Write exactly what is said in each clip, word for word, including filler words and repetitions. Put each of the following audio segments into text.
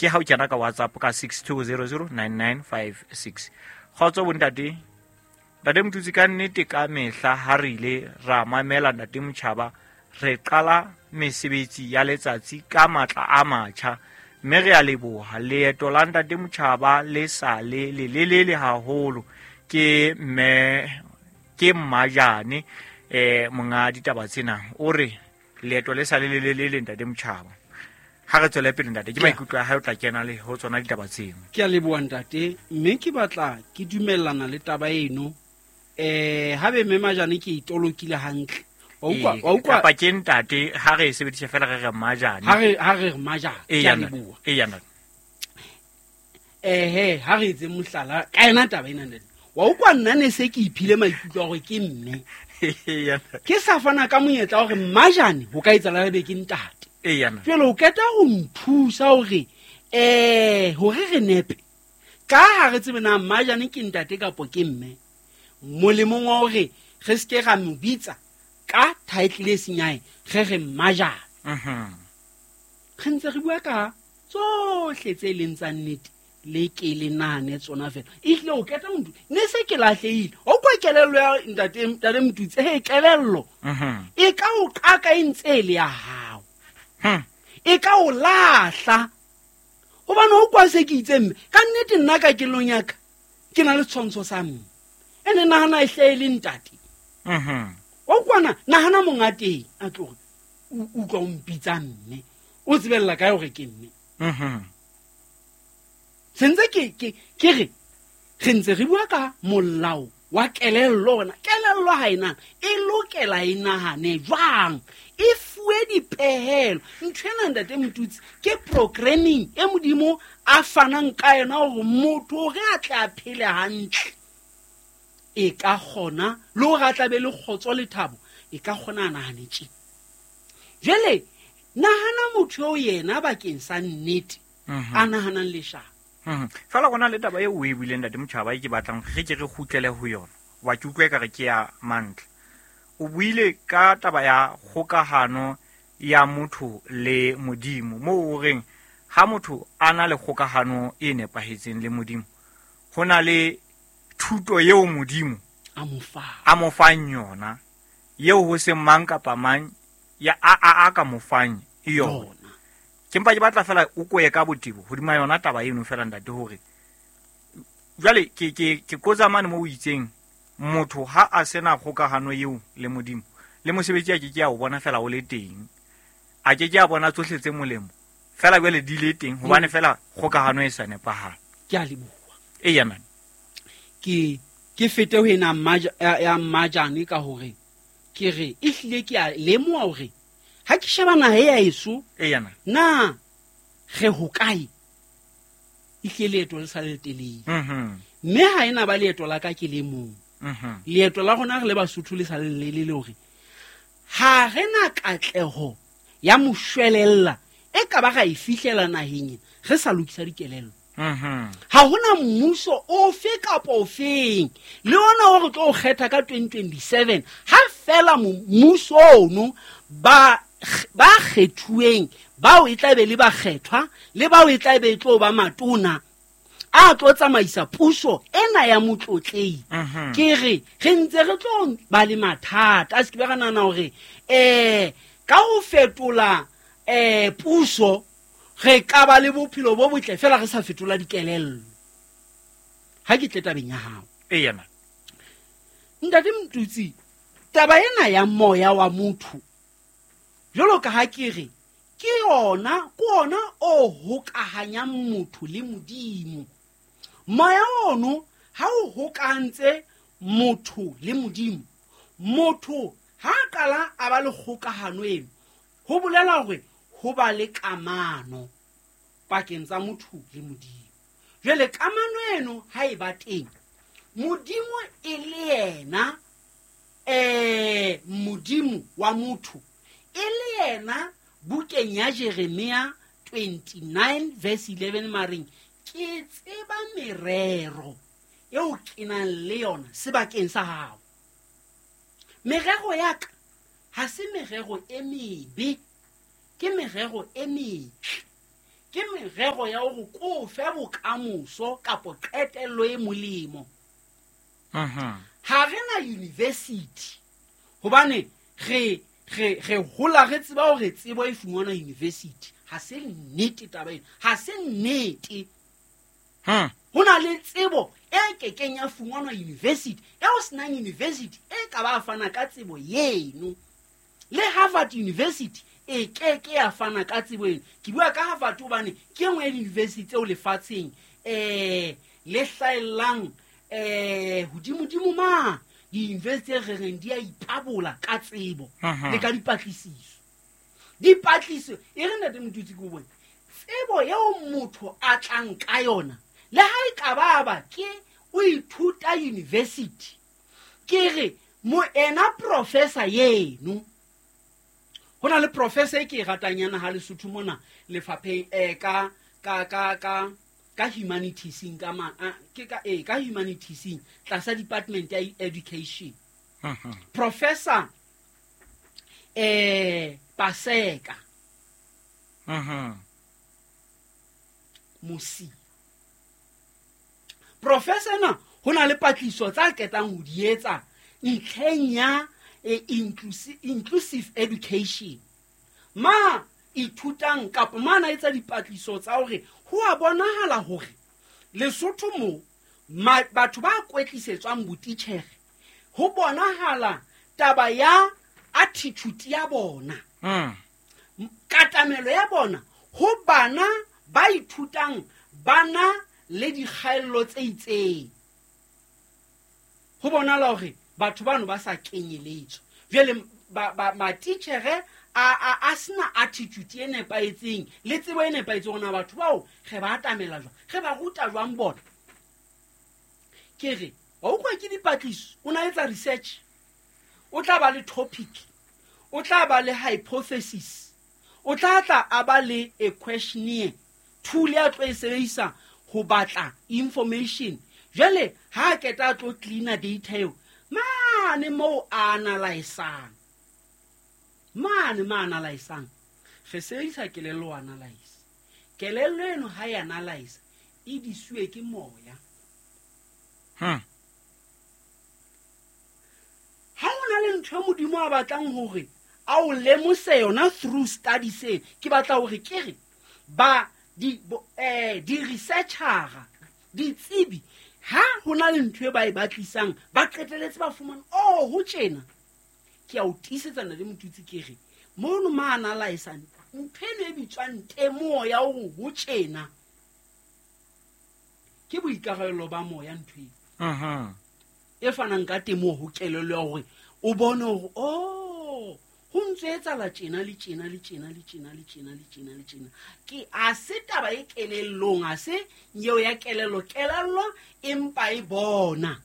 Ke ha o kena ka WhatsApp ka six two zero zero nine nine five six. Kgotso bontate. Ntate Motutsi, ka nnete ka mehla ha re ile ra mamela Ntate Motjhaba, re qala mesebetsi ya letsatsi ka matla a matjha, mme re a leboha. Leeto la Ntate Motjhaba le sa le lelelele haholo. Ke mme, ke Mmajane, eh, monga ditaba tsena. O re leeto le sa le lelelele Ntate Motjhaba. Ha re tswele pele ntate, ke Ke a- maikutlo a hae o tla kena le ho tsona ditaba tseno. Ke a leboha ntate, mme ke batla ke dumellana le taba eno. Eh, ha be mme Majane ke itolokile hantle. Wa utlwa, Ee, wa utlwa kapa ke ntate, ha re e sebedisa fela re re Majane. Ha re, ha re re Majane, Ee, ke a ya ntate. leboha. Ee, ya ntate. Ehe, ha re etse mohlala ka yona taba ena ntate. Wa utlwa nna ne se ke iphile maikutlo a hore ke mme. Ee, ya ntate. Ke sa fana ka monyetla wa hore Majane ho ka etsahala ebe ke ntate. Ee, ya ntate. Jwale o qeta ho nthusa hore, eh, hore re nepe. Ka ha re tsebe na Majane ke ntate kapo ke mme. Molemong wa hore re se ke ra mo bitsa ka title e seng ya hae, re re Majane. Mhm. Re ntse re bua ka tsohle tse leng tsa nnete, le ke le nahane tsona fela. Ehlile o qeta ho nthu-, ne se ke lahlehile. O kwa kelello ya ntate, ntate Motutsi, he, kelello. Mhm. E ka o qaka e ntse e le ya hao. Hmm. E ka o lahla. Hobane o kwa se ke itse mme, ka nnete nna ka kelellong ya ka, ke na le setshwantsho sa mme. Ene nahana e hle e le ntate. Mhm. O kwana, nahana monga teng, a tlo re, o utlwa o mpitsa mme. O tsebella kae hore ke mme? Mhm. Se ntse ke, ke, ke re, re ntse re bua ka molao wa kelello ona. Kelello ha e nahana, e lokela e nahane jwang? E fuwe dipehelo. Ntho ena, Ntate Motutsi, ke programming e Modimo a fanang ka yona hore motho hore a tle a phele hantle, e ka kgona, le hore a tla be le kgotso le thabo, e ka kgona a nahane tje. Jwale, nahana motho eo yena bakeng sa nnete, Mhm. a nahanang leshano. Mhm. Fela go na le taba eo o e buileng, Ntate Motjhaba, e ke batlang re ke re kgutlele ho yona. Wa ke utlwe ekare ke ya mantle. O buile ka taba ya kgokahano ya motho le Modimo, moo o reng ha motho a na le kgokahano e nepahetseng le Modimo, ho na le thuto eo Modimo a mo fang. a mo fang yona, eo ho seng mang kapa mang ya a, a, a ka mo fang yona. Yona. Ke mpa ke batla fela o koye ka botebo hodima yona taba eno fela ntate, hore jwale ke, ke, ke qotsa mane moo o itseng motho ha a sena kgokahano eo le Modimo, le mosebetsi a ke ke a o bona fela o le teng, a ke ke a bona tsohle tse molemo fela jwale di le teng, hobane fela kgokahano e sa nepahala. Ke a leboha. Eya, man. Ke, ke fete ho ena mmaja-, ya, ya Mmajane ka hore ke re ehlile ke a lemoha hore ha ke sheba naha ya heso, Eya, man. na re hokae? Ehlile leeto le sa le letelele. Mhm. Mme ha ena ba leeto la ka ke le mong. Mhm. Leeto la rona re le Basotho le sa le lelele hore ha re na katleho ya moshwelella e ka ba ra e fihlela naheng ena, re sa lokisa dikelello. Mhm. Ha hona mmuso ofe kapa ofeng le ona o re tlo o kgetha ka twenty twenty-seven, ha fela mo-, mmuso ono ba, ba kgethuweng, bao e tla be le bakgethwa, le bao e tla be e tlo ba matona a tlo tsamaisa puso ena ya motlotlehi. Mhm. Ke re, re ntse re tlo ba le mathata. A se ke be ra nahana hore, eh, ka ho fetola, eh, puso re ka ba le bophelo bo botle fela re sa fetola dikelello. Ha ke tle tabeng ya hao. Eya, ma. Ntate Motutsi, taba ena ya moya wa motho, jwalo ka ha ke re, ke yona, ke ona o hokahanyang motho le Modimo. Moya ono ha o hokahantse motho le Modimo, motho ha a qala a ba le kgokahano eno, ho bolela hore ho ba le kamano pakeng tsa motho le Modimo. Jwale kamano eno ha e ba teng, Modimo e le yena, eh, Modimo wa motho, e le yena bukeng ya Jeremia twenty-nine verse eleven mareng, ke tseba merero eo ke nang le yona sebakeng sa hao. Merero ya ka ha se merero e mebe, ke merero e metle. Ke merero ya hore ko fe bokamoso kapo qetello e molemo. Mhm. Ha re na university hobane re re re hola re tseba hore tsebo e fumanwa university. Ha se nnete taba ena, ha se nnete. Hmm. Ho na le tsebo e kekeng ya fumanwa university, eo senang university e ka ba fana ka tsebo yeno. Le Harvard University e ke ke ya fana ka tsebo eno. Ke bua ka Harvard hobane ke nngwe ya di-university tseo lefatsheng eh le hlaellang eh hodimodimo ma di-university re reng di a ipabola ka tsebo Mhm. le ka dipatlisiso. Dipatlisiso e re ntate Motutsi ke o bone tsebo eo motho a tlang ka yona le ha e ka ba ba ke o ithuta university, ke re moena professor yeno. Ho na le professor e ke e ratang yana ha Lesotho mona lefapheng eh ka ka ka ka ka humanitiesing ka ma, ah, ke ka eh ka humanitiesing tlasa department ya education. Mhm. Professor eh Paseka Mhm. Mosia. Professor na ho na le patliso tsa ketang ho di etsa ntlheng ya e inclusive, inclusive education. Ma ithutang kapa mana etsa dipatliso tsa hore ho a bonahala hore Lesotho mo ma, batho ba kwetlisetswang botitjhere ho bonahala taba ya attitude ya bona, Mm. katamelo ya bona ho bana ba ithutang bana le dikgaello tse itseng. Ho bonahala hore batho bano ba sa kenyeletswa. Jwale ba, ba, matitjhere a, a, a sena attitude e nepahetseng le tsebo e nepahetseng hore na batho bao re ba atamela jwang, re ba ruta jwang bona. Ke re, wa utlwa ke dipatlisiso, o na etsa research, o tla ba le topic, o tla ba le hypothesis, o tla tla a ba le a questionnaire, tool ya tlo e sebedisa ho batla information. Jwale ha a keta a tlo cleaner data eo, mane moo a analysang, mane ma analysang, re sebedisa kelello ho analyse. Kelello eno ha e analyse, e disuwe ke moya. Hmm. Ha ho na le ntho e Modimo a batlang hore a o lemose yona through study se, ke batla hore ke re ba di, bo, eh, di-researchera, ditsebi, ha ho na le ntho e ba e batlisang, ba qeteletse ba fumana, oh, ho tjena. Ke a o tiisetsa ntate Motutsi ke re, mono ma analysang, ntho eno e bitswang temoho ya hore ho tjena, ke boikarabelo ba moya ntho eo. Mhm. E fanang ka temoho ho kelello ya hore o bone hore, oh, ho ntse etsahala tjena le tjena le tjena le tjena le tjena le tjena le tjena. Ke a se taba e kelellong, a se nyeo ya kelello, kelello empa e bona,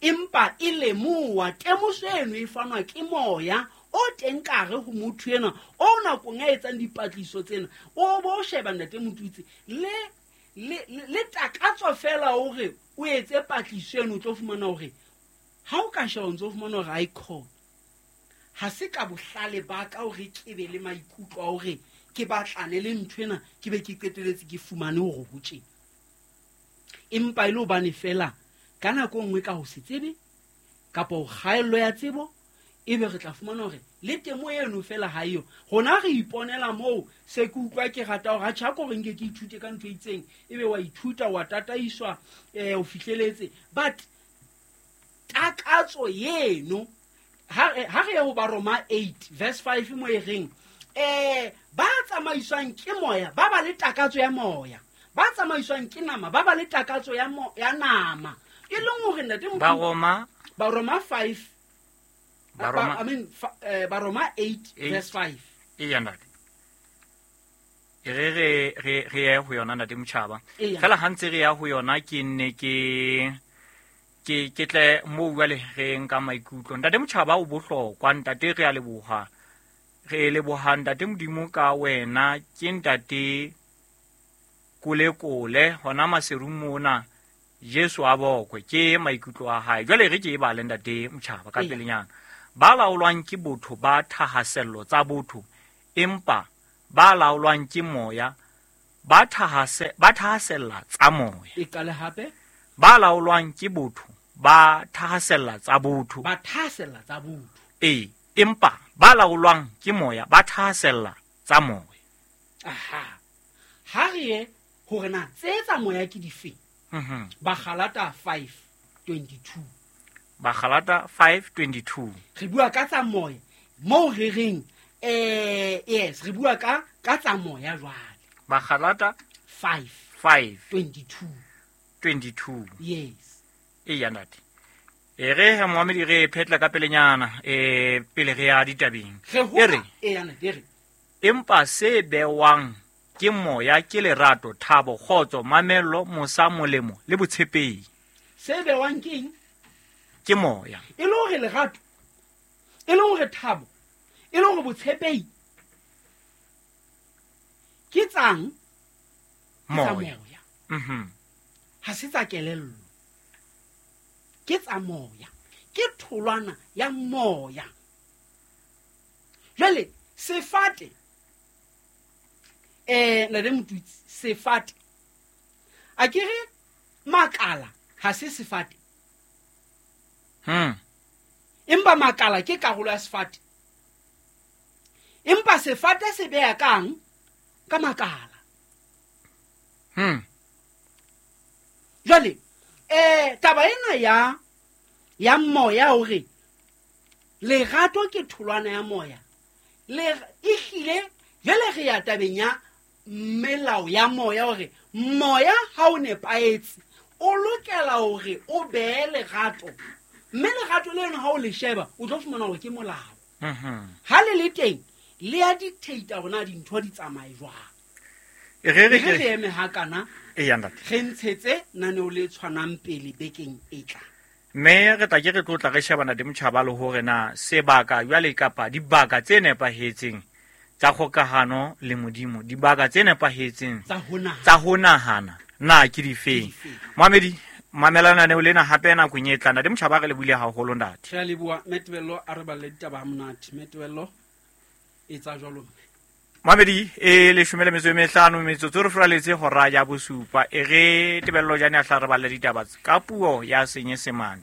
empa e lemoha. Temoso eno e fanwa ke moya o teng ka hare ho motho enwa o nakong a etsang dipatlisiso tsena. O bo sheba ntate Motutsi le, le, le, le takatso fela hore o etse patlisiso eno, o tlo fumana hore ha o ka sheba o ntso fumana hore ha e khona. Ha se ka bohlale ba ka hore ke be le maikutlo a hore ke batlane le ntho ena, ke be ke qeteletse ke fumane hore ho tjena. Empa e le hobane fela ka nako e nngwe ka ho se tsebe kapa ho kgaello ya tsebo, ebe re tla fumana hore le temo eno fela ha eyo. Rona re iponela moo, se ke utlwa ke rata hore atjhe, ha ke hore nke ke ithute ka ntho e itseng, ebe wa ithuta, wa tataiswa, eh, o fihleletse. But takatso eno, ha re, ha re ye ho Baroma eight verse five mo e reng, eh, ba tsamaiswang ke moya ba ba le takatso ya moya, ba tsamaiswang ke nama ba ba le takatso ya mo-, ya nama. E leng hore ntate Motho- Baroma? Baroma five. Baroma. Ba, I mean, fa, eh, Baroma eight, Eight. verse five. Eya, ntate. E re, re, re, re ye ho yona, ntate Motjhaba. Eya. Fela ha ntse re ya ho yona, ke nne ke, ke, ke tle moo jwale re nka maikutlo. Ntate Motjhaba o bohlokwa, ntate re a leboha. Re leboha ntate Modimo ka wena, ke ntate Kolekole hona Maseru mona, Jesu a bokwe, ke maikutlo a hae. Jwale re ke e bale ntate Motjhaba ka Eya. pelenyana. Ba laolwang ke botho ba thahasello tsa botho, empa ba laolwang ke moya Ba thahase ba thahasella tsa moya. E qale hape. Ba laolwang ke botho ba thahasella tsa botho. Ba thahasella tsa botho. Ee, empa ba laolwang ke moya ba thahasella tsa moya. Aha. Ha re ye hore na tse tsa moya ke dife? Mhm. Bagalata five twenty-two. Bagalata five twenty-two. Re bua ka tsa moya moo re reng eh yes, re bua ka ka tsa moya jwale. Bagalata five five twenty-two. twenty-two. Yes. E ya ntate. E re ha Mohamedi re phetla ka pelenyana e pele re ya ditabeng. E re e ya ntate re. Empa se bewang ke moya ke lerato, thabo, kgotso, mamello, mosa, molemo le botshepehi. Se bewang ke eng? Ke moya. E le hore lerato, e le hore thabo, e le hore botshepehi ke tsang moya. Mhm. Ha se tsa kelello. Ke tsa moya. Ke tholwana ya moya. Jwale sefate eh ntate Motutsi, sefate a ke re makala ha se sefate. Hmm. Empa makala ke karolo ya sefate. Empa sefate se beya kang ka makala. Hmm. Jwale eh taba ena ya ya moya hore lerato ke tholwana ya moya le ehlile jwale re ya tabeng ya melao ya moya hore moya ha o nepaetse o lokela hore o behe lerato, mme lerato leno ha o le sheba o tlo fumana hore ke molao. Mhm. Ha le le teng le ya dictate hore na dintho di tsamaye jwang. E re re re eme ha kana e ya ntate. Re ntshetse naneo le tshwanang pele bekeng e tla. Mme re tla ke re tlotla re shebana le motjhaba le hore na sebaka jwale kapa dibaka tse nepahetseng tsa kgokahano le Modimo, dibaka tse nepahetseng tsa ho nahana, tsa ho nahana na ke difeng. Mohamedi, mamela naneo lena hape nakong e tlang. Ntate Motjhaba re le buile haholo ntate. Re a leboha Metebello, a re balle ditaba ha monate. Metebello etsa jwalo mme. Mohamedi e leshome le metso e mehlano metsotso re furaletse hora ya bosupa. E re Tebello jane a hla re balle ditaba ka puo ya Senyesemane.